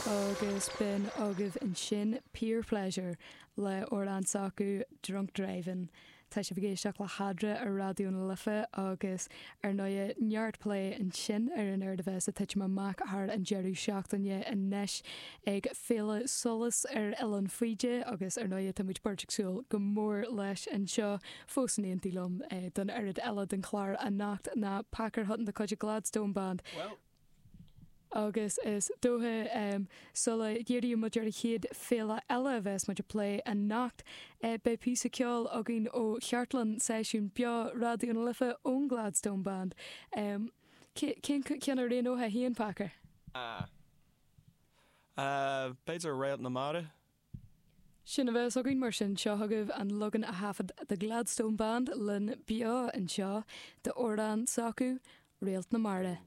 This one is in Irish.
Agus b'in agaibh ansin Peer Pleasure le amhrán s'acu Drunk Driving. Tá sibh ag éisteacht le hEadra ar Raidió na Life agus ar ndóighe neart plé ansin ar an éard a bheas ag titim amach thar an deireadh seachtaine anois ag Féile Solas ar Oileán Faoide agus ar ndóighe tá muid beirt ag súil go mór leis anseo fós in éindí liom don oiread eile den chlár anocht ná Packer Hutton de chuid Gladstone Band. Agus is dócha, sula dhíríonn muid ar an chéad féile eile a bheas muid ag plé anocht, beidh píosa ceoil againn ó chartlann seisiún beo Raidió na Life ón Gladstone Band. Cén ceann a roghnófá féin, Packer? B'fhéidir Réalt na Mara? Sin a bheas againn mar sin. Seo chugaibh an leagan a thaifead The Gladstone Band linn beo anseo d'amhrán s'acu, Réalt na Mara.